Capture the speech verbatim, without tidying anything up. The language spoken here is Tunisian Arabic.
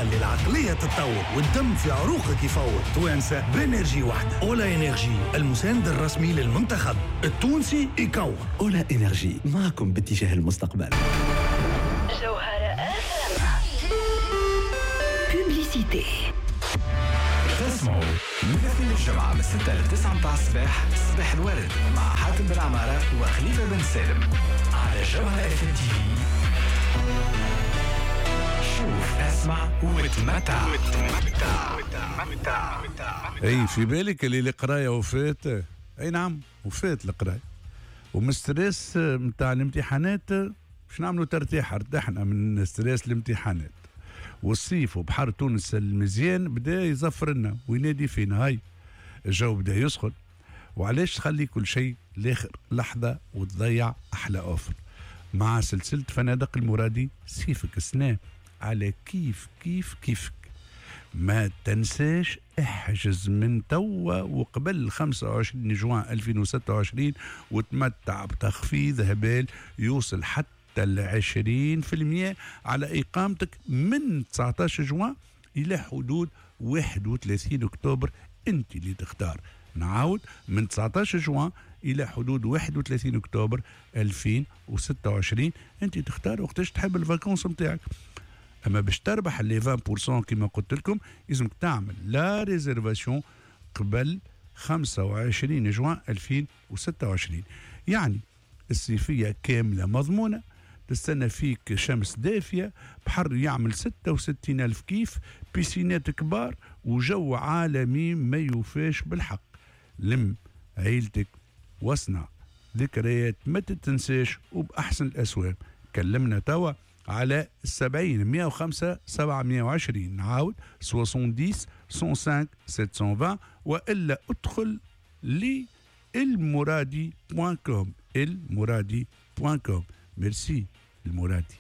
خلي العقلية تتطور والدم في عروقك يفور. توانسة ب énergie واحدة، Ola Energy، المساند الرسمي للمنتخب التونسي يكور. Ola Energy معكم باتجاه المستقبل. جوهرة publicité. تسمعوا من اثنين الجمعة من ستة ل تسعة متاع الصباح، صباح الورد مع حاتم بن عمارة وخليفة بن سالم على جوهرة اف ام تي في. شوف، اسمع وتمتع. اي في بالك اللي القراية وفات؟ اي نعم، وفات القرايه، ومن stress نتاع الامتحانات باش نعملوا ترتيح. ارتحنا من stress الامتحانات، والصيف وبحر تونس المزيان بدا يزفر لنا وينادي فينا. هاي الجو بدا يسخن، وعلاش تخلي كل شيء لاخر لحظة وتضيع احلى offre؟ مع سلسلة فنادق المرادي، صيفك السنة على كيف كيف كيفك. ما تنساش، احجز من توا وقبل خمسة وعشرين جوان ألفين وستة وعشرين وتمتع بتخفيض هبال يوصل حتى ال عشرين في المية على إقامتك من تسعطاش جوان إلى حدود واحد وثلاثين أكتوبر. أنت اللي تختار. نعاود، من تسعطاش جوان إلى حدود واحد وثلاثين أكتوبر ألفين وستة وعشرين. أنت تختار وقتاش تحب ال vacances نتاعك. اما باش تربح les عشرين في المية كما قلت لكم، لازمك تعمل la réservation قبل خمسة وعشرين جوان ألفين وستة وعشرين. يعني الصيفية كاملة مضمونه، تستنى فيك شمس دافية، بحر يعمل ستة وستين ألف كيف، piscine ات كبار وجو عالمي ما يوفاش بالحق. لم عيلتك واصنع ذكريات ما تتنساش وبأحسن الأسوام. كلمنا توا على سبعين مية وخمسة سبعمية وعشرين، نعاود، سبعين مية وخمسة سبعمية وعشرين، والا ادخل للمرادي point com، المرادي point com. merci المرادي.